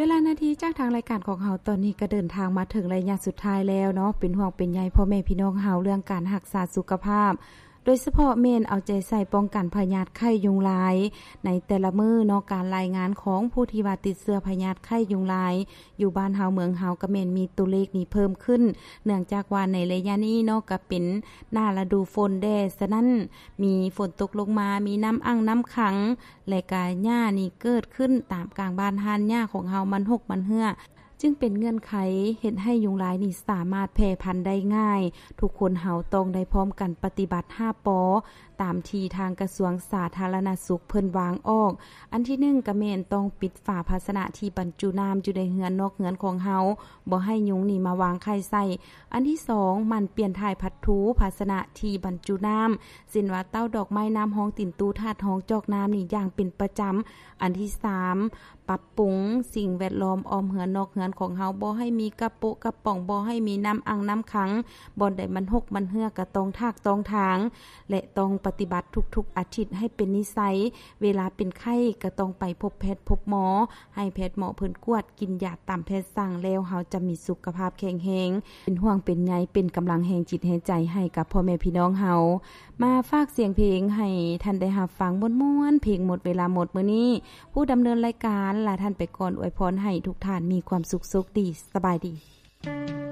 ເວລານາທີຈາກທາງລາຍການຂອງເຮົາຕອນນີ້ກໍເດີນທາງມາເຖິງໄລຍະສຸດທ້າຍແລ້ວເນາະ. ເປັນຫ່ວງເປັນໃຍພໍ່ແມ່ພີ່ນ້ອງເຮົາເລື່ອງການຮັກສາສຸຂະພາບ ໂດຍສະເພາະແມ່ນເອົາໃຈໃສ່ປ້ອງກັນພະຍາດໄຂ້ຍຸງລາຍໃນແຕ່ລະມື້ເນາະ. ການລາຍງານຂອງຜູ້ທີ່ວ່າຕິດເຊື້ອພະຍາດໄຂ້ຍຸງລາຍຢູ່ບ້ານເຮົາເມືອງເຮົາກໍແມ່ນມີຕົວເລກນີ້ເພີ່ມຂຶ້ນ ເນື່ອງຈາກວ່າໃນໄລຍະນີ້ເນາະ ກໍເປັນໜ້າລະດູຝົນແດ່ ສະນັ້ນມີຝົນຕົກລົງມາ ມີນ້ຳອັ່ງນ້ຳຂັງ ແລະກະຫຍ້ານີ້ເກີດຂຶ້ນຕາມກາງບ້ານຮ້ານຫຍ້າຂອງເຮົາມັນຫົກມັນເຮື້ອ ຈຶ່ງເປັນເງື່ອນໄຂເຮັດໃຫ້ຍຸງລາຍນີ້ສາມາດແຜ່ພັນໄດ້ງ່າຍ. ທຸກຄົນເຮົາຕ້ອງໄດ້ພ້ອມກັນປະຕິບັດຫ້າ ປ ຕາມທີ່ທາງກະຊວງສາທາລະນະສຸກເພິ່ນວາງອອກ. ອັນທີໜຶ່ງກະແມ່ນຕ້ອງປິດຝາພາຊະນະທີ່ບັນຈຸນ້ຳຢູ່ໃນເຮືອນນອກເຮືອນຂອງເຮົາ ບໍ່ໃຫ້ຍຸງນີ້ມາວາງໄຂ່ໃສ່. ອັນທີສອງ ໝັ່ນປ່ຽນຖ່າຍພັດຖູພາຊະນະທີ່ບັນຈຸນ້ຳ ເຊັ່ນວ່າເຕົ້າດອກໄມ້ ນ້ຳຮອງຕີນຕູ້ ຖາດຮອງຈອກນ້ຳນີ້ຢ່າງເປັນປະຈຳ. ອັນທີສາມ ປັບປຸງສິ່ງແວດລ້ອມອ້ອມເຮືອນນອກເຮືອນຂອງເຮົາ ບໍ່ໃຫ້ມີກະໂປະກະປ໋ອງ ບໍ່ໃຫ້ມີນ້ຳອັ່ງນ້ຳຂັງ ບ່ອນໃດມັນຫົກມັນເຮື້ອກະຕ້ອງຖາກຕ້ອງຖາງ ແລະຕ້ອງປະຕິບັດທຸກໆອາທິດໃຫ້ເປັນນິໄສ. ເວລາເປັນໄຂ້ກະຕ້ອງໄປພົບແພດພົບໝໍ ໃຫ້ແພດໝໍເພິ່ນກວດ ກິນຢາຕາມແພດສັ່ງ ແລ້ວເຮົາຈະມີສຸຂະພາບແຂງແຮງ. ເປັນຫ່ວງເປັນໃຍ ເປັນກຳລັງແຮງຈິດແຮງໃຈໃຫ້ກັບພໍ່ແມ່ພີ່ນ້ອງເຮົາ. ມາຝາກສຽງເພງໃຫ້ທ່ານໄດ້ຮັບຟັງມ່ວນໆ ເພງໝົດເວລາໝົດມື້ນີ້. ຜູ້ດຳເນີນລາຍການ ລາທ່ານໄປກ່ອນ ອວຍພອນໃຫ້ທຸກທ່ານມີຄວາມສຸກໂຊກດີ. ສະບາຍດີ.